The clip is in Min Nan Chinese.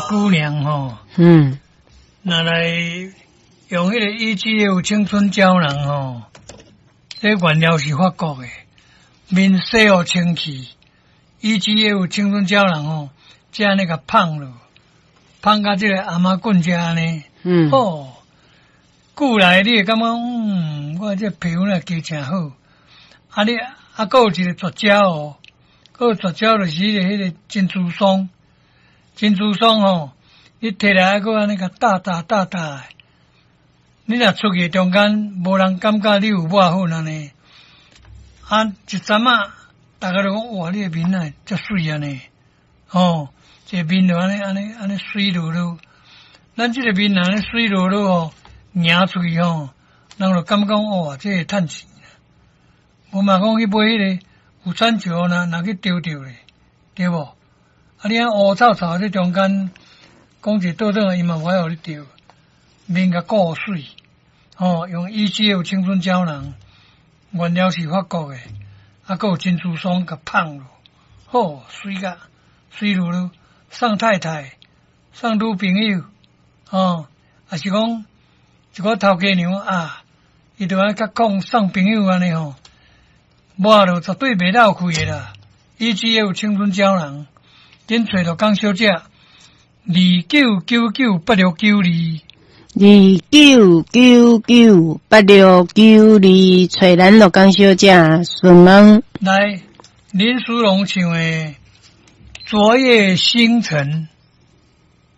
姑娘吼，若來用彼個 EGF 青春膠囊吼，這原料是法國的，面洗予清氣，EGF 青春膠囊吼，這按呢共噴落，噴甲這個餡仔棍遮按呢，哦，久來你會感覺，我這皮膚若加誠好，啊你啊，閣有一個絕招哦，閣有絕招就是彼個珍珠霜，珍珠霜吼，你提來閣按呢共打打打打，你若出去中間無人感覺你有抹粉按呢，啊一陣仔，逐家都講哇，你的面啊遮媠按呢，吼，這個面就按呢按呢按呢媠漉漉，咱這個面按呢媠漉漉吼，行出去吼，人就感覺講哇，這會趁錢。無嘛講去買彼個有產石若若去丟著咧，對無？啊，你按烏臭臭佇中間講一倒轉來，伊嘛無愛予你著，面共顧媠，吼，用 EGF 青春膠囊，原料是法國的，啊，閣有珍珠霜共噴落，好媠甲媠漉漉，送太太，送女朋友，吼，抑是講一寡頭家娘啊，伊就愛較講送朋友按呢吼，抹落絕對袂落氣的啦。EGF 青春膠囊，緊揣陸江小姐，29998692。29998692，揣咱陸江小姐順問。來，林淑容唱的《昨夜星辰》。